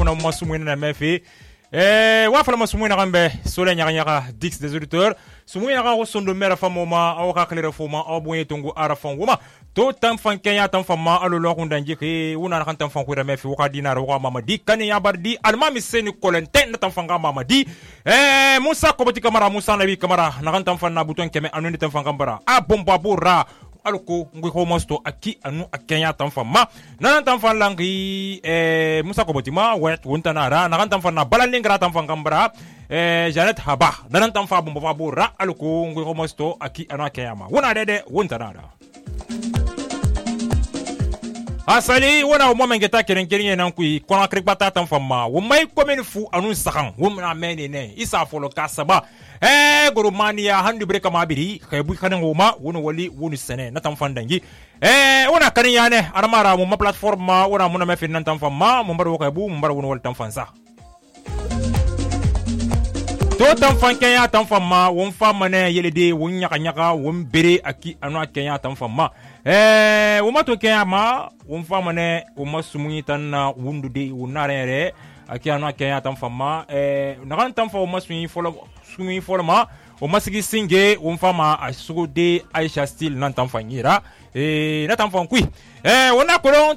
una masumuina na mefe wa fala masumuina gambe sole nyaga dix des auditeurs sumuina ga sondo mera famoma aw ka klere foma aw bonye tongo arafan woma to tan fan kenya tan fama alo lo kun danji ke una kan tan fan ku mefe wa dinara wa mamadi kan ya bardi almami seni kolenten tan fan ga mamadi musa koboti kamara musa nabi kamara na kan tan fan na buton keme anu tan fan gambara a bomba bora alko ngui ko mosto aki anu akenya tan fama nan tan fan langi musa koboti ma wet wonta nara na kan tan fan na balalingra tan fan gambara Janet Haba nan tan fa bomba bora alko ngui ko mosto aki anu akenya ma wona dede wonta nara asali wona mo mengeta keren nan kui kona krikbata tan fama wo mai komen fu anu sakan wo na mene ne isa folo kasaba goromania handu breka mabiri kaybu kanen woma wono wali wonu sene na tan fandangi wona kanin yane armara mo platform ma wona mo na mefin nan tan fama mo bar wo kaybu mo bar wono wal tan fansa to tan fanken ya tan fama won fama ne yelede won nyaka won bere aki anu akenya tan fama wo mato kenya ma won fama ne wo masumuyi tan na wundude wonarere aki anu akenya tan fama na kan tan fa wo masumuyi folo ma wo masigi singe won fama asugo de Aisha Steel nan tan fanyira na tan fankui wona kolon